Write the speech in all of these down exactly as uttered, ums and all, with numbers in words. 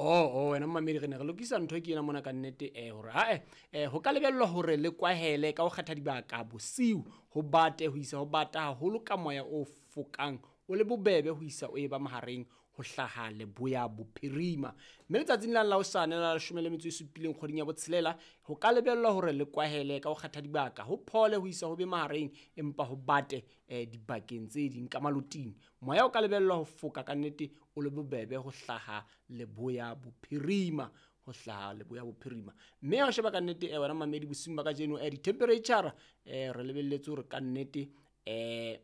Oh, oh wena mmamedi, re ne re lokisa ntho ke ena mona ka nnete eh hore ae eh ho ka lebellwa hore le kwahele ka ho kgetha dibaka bosiu, ho bate ho isa ho bata haholo ka moya o fokang o le bobebe ho isa o eba mahareng ho hlaha leboya bophirima. Mme letsatsing la la hosane la leshome le metso e supileng kgweding ya botshelela, ho ka lebellwa hore le kwahele ka ho kgetha dibaka, ho phole ho isa ho be mahareng empa ho bate eh dibakeng tse ding ka maloting. Moya o ka lebellwa ho foka ka nnete o le bobebe ho hlaha leboya bophirima, ho hlaha leboya bophirima. Mme ha o sheba ka nnete eh wena mamedi bosiung ba kajeno eh di-temperature eh re lebelletse hore ka nnete eh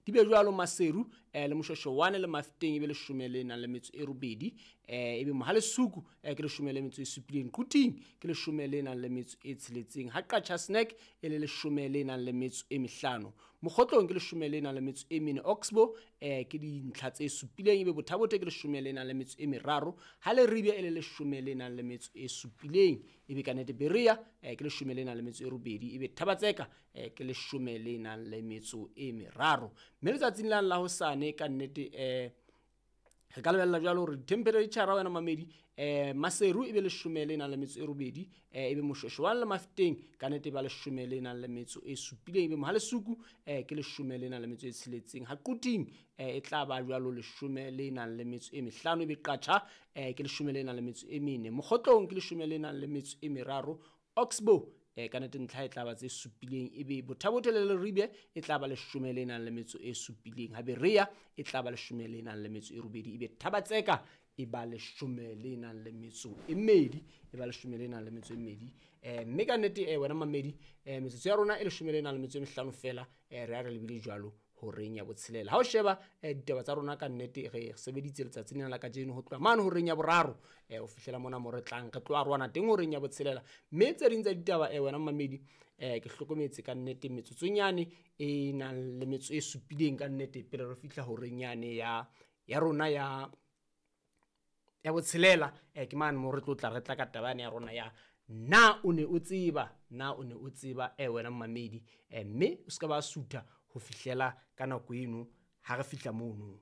di be jwalo Maseru eh le Moshweshwane le Mafeteng ebe leshome le nang le metso e robedi, eh ebe Mohalesuku eh ke leshome le metso e supileng, Quthing ke leshome le nang le metso e tsheletseng, ha Qacha's Nek e le leshome le nang le metso e mehlano, Mokgotlong ke leshome le nang le metso e mene, Oxbow eh ke dintlha tse supileng, ebe Bothabothe ke leshome le nang le metso e meraro, ha Leribe e le leshome le nang le metso e supileng, ebe ka nnete Berea eh ke leshome le nang le metso e robedi, ebe Thabatseka eh ke leshome le nang le metso e meraro. Mme letsatsing la la hosane ka nnete eh re ka lebella jwalo hore temperature wena mamedi eh Maseru ebe leshome le nang le metso e robedi, eh ebe Moshweshwane le Mafeteng ka nnete ba leshome le nang le metso e supileng, ebe Mohalesuku eh ke leshome le nang le metso e tsheletseng, ha Quthing eh e tla ba jwalo leshome le nang le metso e mehlano, ebe Qacha eh ke leshome le nang le metso e mene, Mokgotlong ke leshome le nang le metso e meraro, Oxbow eh ka nnete ntlha e tla ba tse supileng, ebe Bothabothe le Leribe e tla ba leshome le nang le metso e supileng, ha Berea e tla ba leshome le nang le metso e robedi, ebe Thabatseka e ba leshome le nang le metso e mmedi, e ba leshome le nang le metso e mmedi. Eh mme ka nnete eh wena mamedi eh metsotso ya rona e leshome le nang le metso e mehlano fela, eh re a re lebile jwalo horeng ya botshelela. Ha o sheba eh ditaba tsa rona ka nnete re sebeditse letsatsing lena la kajeno ho tloha mane horeng ya boraro eh ho fihlela mona mo re tlang re tlo arohana teng horeng ya botshelela. Mme tse ding tsa ditaba eh wena mamedi eh ke hlokometse ka nnete metsotsonyane e nang le metso e supileng ka nnete pele re fihla horeng yane ya ya rona ya ya botshelela, eh ke mane mo re tlo tla re tla ka taba yane ya rona ya na o ne o tseba, na o ne o tseba eh wena mamedi eh mme o ska ba sutha ho fihlela ka nako eno ha re fihla mono.